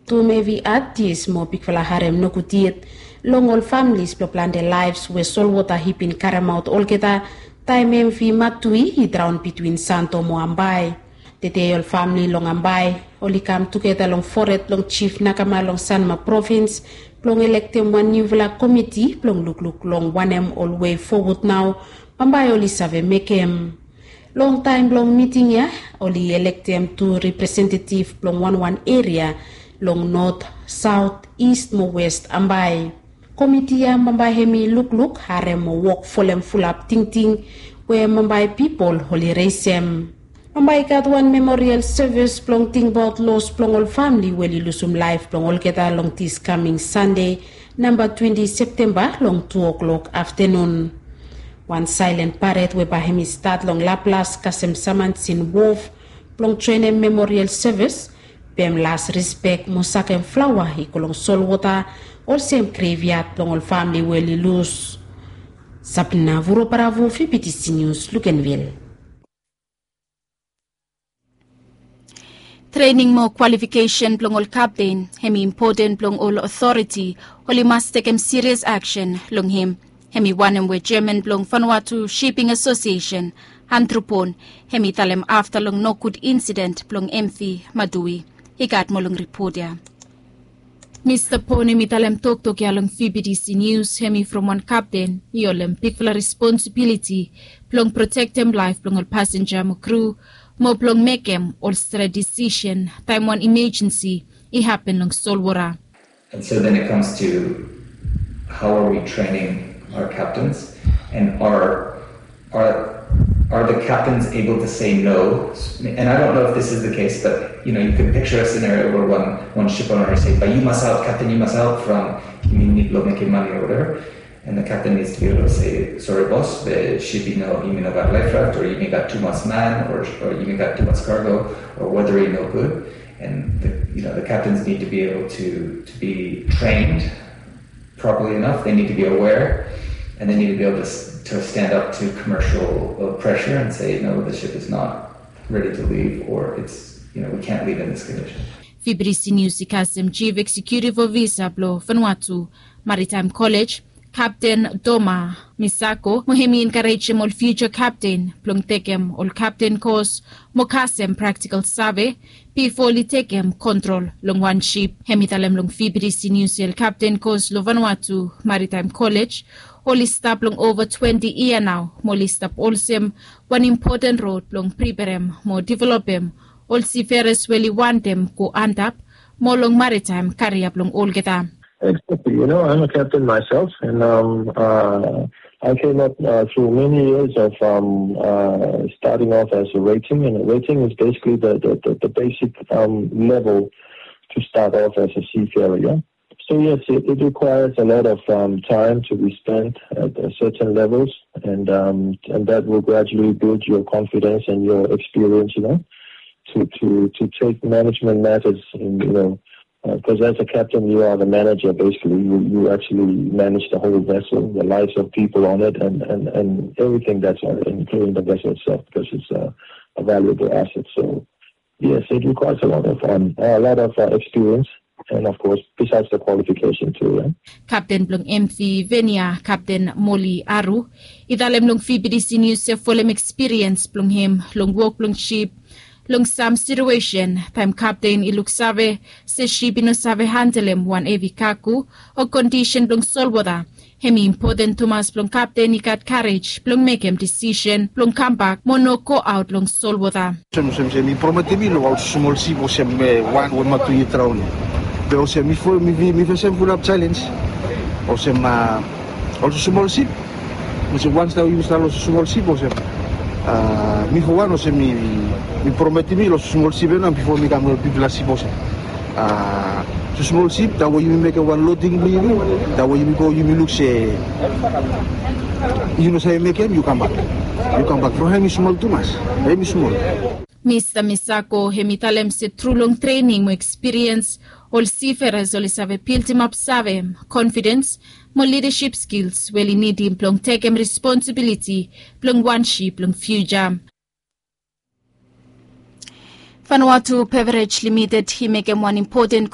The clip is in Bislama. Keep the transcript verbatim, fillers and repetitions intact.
Tum evi atis mo bigfala harem nogud yet long ol familis blong plante laefs we solwota i bin karemaot olgeta taem emfi matui i draon bitwin santo mo ambae. Tede ol famli long ambae oli kam tugeta long fored blong jif nakama long sanma provins blong elektem wan niufala komiti blong lukluk long wanem ol wei fowod nao bambae oli save mekem. Long taem blong miting ya oli elektem tu representetif blong wanwan eria long not, saot, ist mo west ambae. Komiti ya bambae hem i lukluk harem mo wok folem fulap tingting we bambae pipol oli resem. Bambae i gat wan memorial sevis blong tingbaot los blong ol famli we oli lusum laef blong olgeta long dis kaming sande namba twenti septemba long tu oklok aftenun. Wan saelen paret we bae hem i stat long laplas kasem saman sin wof blong joenem memorial sevis, pem las rispek mo sakem flaoa i go long solwota olsem greviat blong ol famli we oli lus. Sabina vuro bravo fibitisi nius lukenvil. Trening mo kwalifikesen blong ol kapten hem i impoten blong ol otoriti oli mas tekem sirias aksen long hem. Hem i wanem we jeman blong fanwatu shiping asosiesen, andrupon, hem i talem afta long nogud insident blong emfi madui. I gat moa long ripot ya. Mista pon hem i talem toktok ya long fibidisi nius hem i from wan kapten i holem bigfala responsibiliti blong protektem laef blong ol pasenja mo kru mo blong mekem ol stret disisen taem wan imejensi i hapen long solwota. And so then it comes to how are we training our captains, and are are are the captains able to say no? And I don't know if this is the case, but you know, you can picture a scenario where one one ship owner say, "But you must out, captain, you must out from, you need to make money or whatever." And the captain needs to be able to say, "Sorry, boss, the ship, you know, you mean about life raft, or you mean got too much man, or, or you mean got too much cargo, or weather ain't no good." And the, you know, the captains need to be able to to be trained properly enough. They need to be aware, and they need to be able to, to stand up to commercial uh, pressure and say, "No, the ship is not ready to leave, or it's, you know, we can't leave in this condition." Fibirisi News i kasem Chief Executive Officer blong Vanuatu Maritime College, Captain Doma Misako, mo hem i enkarejem ol future captain blong tekem ol captain course mo kasem practical save bifo oli tekem kontrol long wan ship. Hem i talem long Fibirisi News se ol captain course long Vanuatu Maritime College oli stap long ova twenti yia nao, mo oli stap olsem wan impoten rod blong priperem mo developem ol siferas we oli wantem go antap mo long maritime karia blong olgeta. Exactly. You know, I'm a captain myself, and um, uh, I came up uh, through many years of um, uh, starting off as a rating, and rating is basically the, the, the, the basic um, level to start off as a seafarer. Yeah? So yes, it, it requires a lot of um, time to be spent at uh, certain levels, and um, and that will gradually build your confidence and your experience. You know, to to to take management matters in you know because as a captain, you are the manager, basically. You, you actually manage the whole vessel, the lives of people on it, and, and, and everything that's on it, including the vessel itself, because it's a, a valuable asset. So, yes, it requires a lot of um, a lot of uh, experience, and of course, besides the qualification too. Yeah? Captain blong M V Venia, Captain Molly Aru, i talem long Fibidisi News se folem ekspiriens blong hem long wok blong ship long sam situesen taem kapten i luksave se ship i no save handelem wan hevi kago o kondisen blong solwota. Hem i impoten tumas blong kapten i gat karej blong mekem disisen blong kambak mo no goaot long solwota. Olsem olsem mi prometem mi long ol smol sip olsem wan we matu i draon. Be olsem mi fesem fulap jaelens olsem ol smol sip. Olsem wans nao yumi stap long smol sip olsem mi fo wan olsem mi prometim mi long smol sip ya nao bifo mi kam long bigfala sip olsem smol sip, taem we yumi mekem wan loding blong yumi, taem we yumi go yumi luk se yu no save mekem, yu kambak. Yu kambak from hem i smol tumas, hem i smol. Mista Misako hem i talem se tru long trening mo ekspiriens, ol siferas oli save bildimap save, konfidens mo lidasip skils we oli nidim blong tekem responsibiliti blong wan sip long fiuja. Vanuatu Beverage Limited i mekem wan impoten